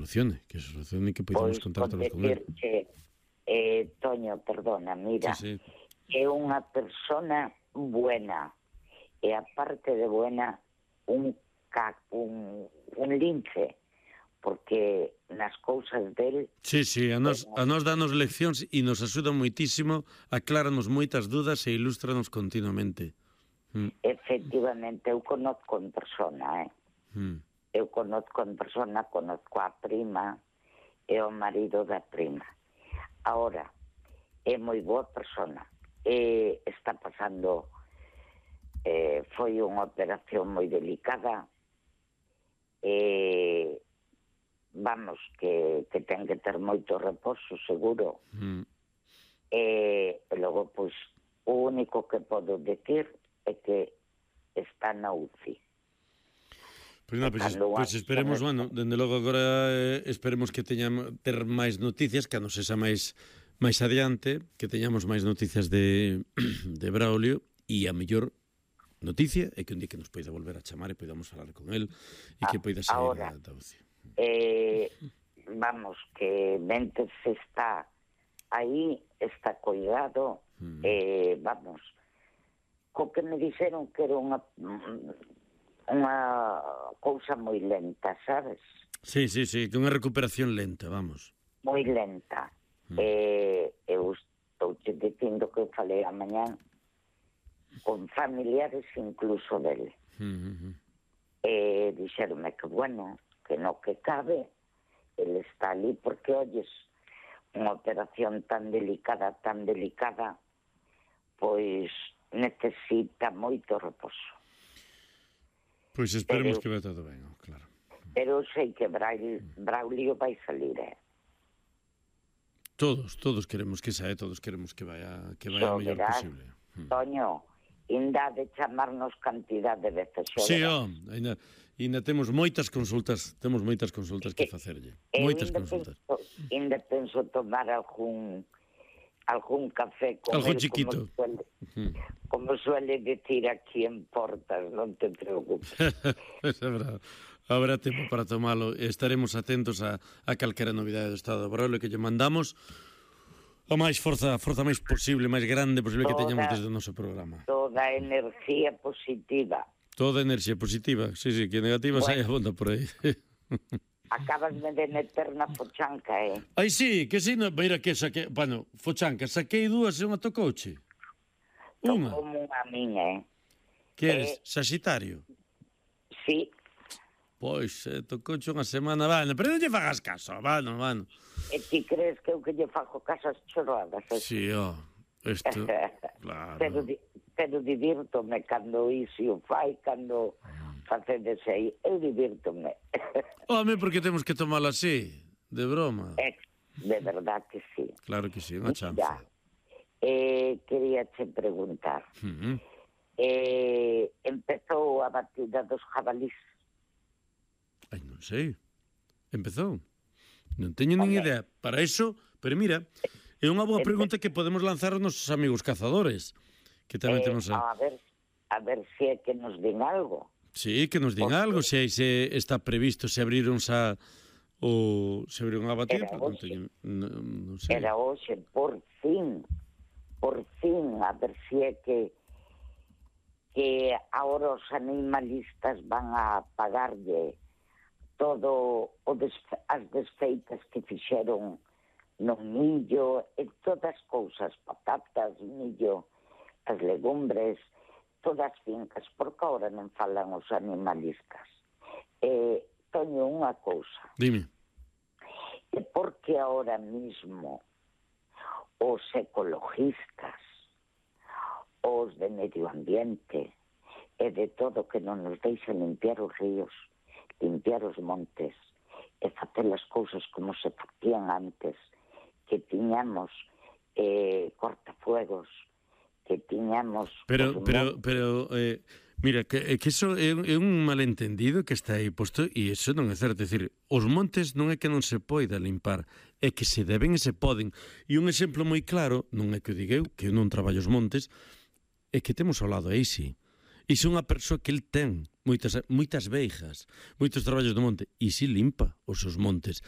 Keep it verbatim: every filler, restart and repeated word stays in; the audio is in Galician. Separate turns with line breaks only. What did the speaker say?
solucione, que se solucione, que podamos
Pois,
contactarnos
con
con el.
decir que, eh, Toño, perdona, mira,
Sí, sí.
é unha persona buena, e aparte de buena, un, ca, un, un lince, porque nas cousas del...
Sí, sí, a nos, a nos danos leccións e nos axuda moitísimo, acláranos moitas dudas e ilústranos continuamente. Mm.
Efectivamente, eu conozco en persona, eh?
Mm.
Eu conozco en persona, conozco a prima e o marido da prima. Ahora, é moi boa persona. E está pasando... Eh, foi unha operación moi delicada. E... Vamos, que, que ten que ter moito reposo, seguro.
Mm.
E, e logo, pois, o único que podo decir é que está na U C I.
Pois non, pois, pois esperemos, bueno, dende logo agora eh, esperemos que teñamos ter máis noticias, que a nos esa máis máis adiante, que teñamos máis noticias de, de Braulio, e a mellor noticia é que un día que nos poida volver a chamar e poidamos falar con el e que poida sair
ahora,
da, da U C I.
Eh, vamos, que mentre se está aí, está cuidado, mm. eh, vamos, co que me dixeron que era unha unha cousa moi lenta, sabes?
Sí, sí, sí, que unha recuperación lenta, vamos.
Moi lenta. Mm. Eh, eu estou te dicindo que eu falei a mañán con familiares incluso dele.
Mm-hmm.
E dixeronme que, bueno, que no que cabe, ele está ali porque, oyes, unha operación tan delicada, tan delicada, pois necesita moito reposo.
Pois esperemos pero, que vai todo ben, claro.
Pero sei que Braulio, Braulio vai salir, eh?
Todos, todos queremos que saia, todos queremos que vaya que vaya o mellor posible.
Toño, inda de chamarnos cantidad de veces.
Sí, oh, ainda, ainda temos moitas consultas, temos moitas consultas que facerlle. Moitas consultas.
Ainda penso tomar algún algún café con
algún
él,
chiquito.
Como suele, uh-huh. como suele decir aquí en Portas, non te preocupes.
Es verdad. Habrá tempo para tomalo e estaremos atentos a, a calquera novidade do Estado de Braulio que lle mandamos a máis forza, forza máis posible, máis grande posible toda, que teñamos desde o noso programa.
Toda enerxía positiva.
Toda enerxía positiva, sí, sí, que negativa bueno. Saia bonda por aí.
Acabasme de meter na fochanca, eh?
Ai, sí, que si, no, mira que saquei, bueno, fochanca, saquei dúas e unha tocouche. Unha.
Como unha miña, eh?
Que eres, eh, Sagitario?
Sí.
Pois, eh, tocouche unha semana, vano, pero non lle fagas caso, vano, vano.
E ti crees que eu que lle fago casas chorradas? Eh?
Sí, ó, oh, isto, claro.
Pero, pero divírtome cando iso fai, cando facedes aí, eu divírtome.
Home, porque temos que tomalo así, de broma.
É, de verdad que sí.
Claro que sí, unha chance.
Ya, eh, quería te preguntar, uh-huh. eh, empezou a batida dos jabalís?
Ai, non sei. Empezou? Non teño nin idea. Para eso, pero mira, é unha boa pregunta que podemos lanzar aos nosos amigos cazadores, que tamén
eh,
temos a...
a ver, a ver se é que nos din algo.
Sí, que nos din Porque... algo, se aí se está previsto, se abriron xa o se abriron a batida,
era
non teño, non, non sei.
Era hoxe, por fin, por fin, a ver se é que que agora os animalistas van a pagarlle todo o des, as desfeitas que fixeron no millo e todas as cousas, patatas, millo, as legumbres, todas as fincas, porque agora non falan os animalistas. Eh, teño unha cousa.
Dime.
E porque ahora mismo os ecologistas, os de medio ambiente e de todo que non nos deixan limpiar os ríos, limpiar os montes e facer as cousas como se facían antes, que tiñamos eh, cortafuegos, que tiñamos...
Pero, pero, pero, eh, mira, que, que eso é, é un malentendido que está aí posto e eso non é certo. É dicir, os montes non é que non se poida limpar, é que se deben e se poden. E un exemplo moi claro, non é que o diga eu, que eu non traballo os montes, é que temos ao lado aí, sí. E se unha persoa que el ten moitas, moitas veigas, moitos traballos do monte, e si limpa os seus montes.